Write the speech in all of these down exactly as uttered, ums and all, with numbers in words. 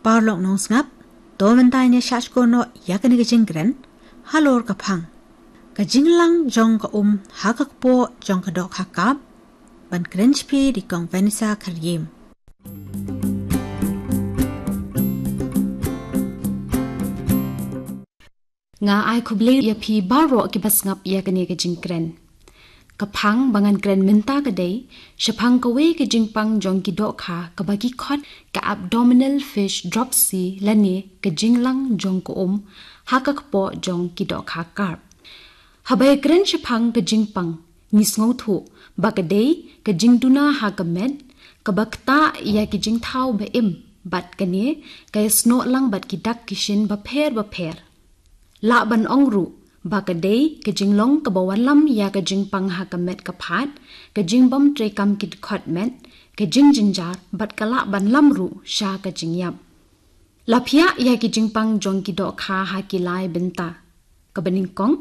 Paralok nongsngap, to mynta ngin ïa shah shkor noh ïa kane ka jingkren halor ka phang. Ka jinglang jong ka um ha ka kpoh jong ka dohkha karp, ban kren sha phi da i Kong Vanessa Kharjim. Nga ai khublei ïa phi baroh kiba sngap ïa kane ka jingkren. Ka phang ba ngan kren mynta ka dei shaphang kawei ka jingpang jong ki dohkha kaba ki khot ka abdominal fish dropsy lane ka jinglang jong ka um ha ka kpoh jong ki dohkha karp. Haba ïa kren shaphang ka jingpang, ngi sngewthuh ba ka dei ka jingduna ha ka met kaba ktah ïa ki jingthaw ba im, bad kane ka ïasnoh lang bad ki dak ki shin bapher bapher. Lah ban ong ruh ba ka dei ka jinglong kaba wanlam ïa ka jingpang ha ka met ka phad, ka jingbym treikam ki dkhot met, ka jingjynjar, bad ka lah ban lam ruh sha ka jingïap. La phiah ïa ki jingpang jong ki dohkha ha ki lai bynta. Kaba nyngkong,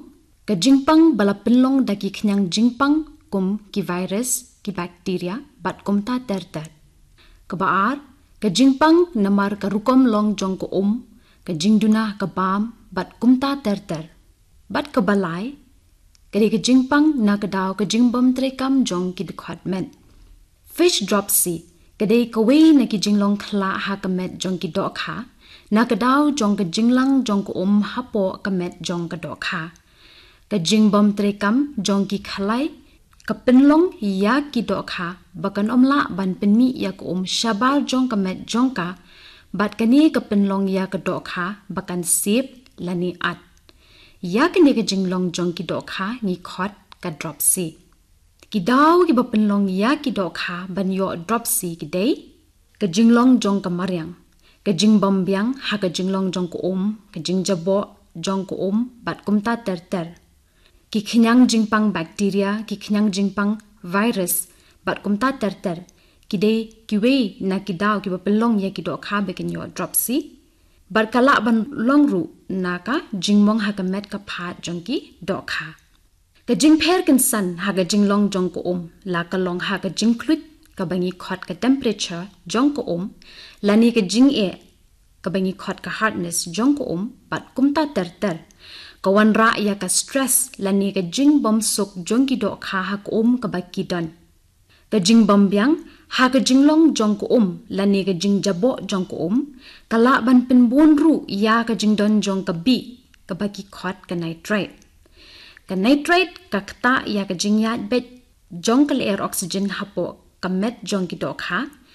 ka jingpang ba la pynlong da ki khñiang jingpang kum ki virus, ki bakteria, bad kumta ter ter. Kaba ar, ka jingpang namar ka rukom long jong ka um, ka jingduna ka bam, bad kumta ter ter. Bad kaba lai, ka dei ka jingpang na ka daw ka jingbym treikam jong ki dkhot met. Fish dropsy ka dei kawei na ki jinglong khlah ha ka met jong ki dohkha, na ka daw jong ka jinglang jong ka um hapoh ka met jong ka dohkha. Ka jingbym treikam jong ki khalai ka pynlong ïa ki dohkha ba kan ym lah ban pynmih ïa ka um shabar jong ka met jong ka, bad kane ka pynlong ïa ka dohkha ba kan sep lane at. Ïa kane ka jinglong jong ki dohkha ngi khot ka dropsy. Ki daw kiba pynlong ïa ki dohkha ban ïoh dropsy ki dei ka jinglong jong ka mariang, ka jingbym biang ha ka jinglong jong ka um, ka jingjaboh jong ka um, bad kumta ter ter. Ki khñiang jingpang bakteria, ki khñiang jingpang virus, bad kumta ter ter, ki dei kiwei na ki daw kiba pynlong ïa ki dohkha ba kin ïoh dropsy. Bad ka lah ban long ruh na ka jingmong ha ka met ka phad jong ki dohkha. Ka jingpher kynsan ha ka jinglong jong ka um la ka long ha ka jingkhluit kaba ngi khot ka temperature jong ka um, lane ka jingeh kaba ngi khot ka hardness jong ka um, bad kumta ter ter. Ka wanrah ïa ka stress lane ka jingbym suk jong ki dohkha ha ka um kaba ki don. Ka jingbym biang ha ka jinglong jong ka um lane ka jingjaboh jong ka um ka lah ban pynbun ruh ïa ka jingdon jong ka bih kaba ki khot ka nitrite. Ka nitrite ka ktah ïa ka jingïaid beit jong ka lyer oxygen hapoh ka met jong ki dohkha,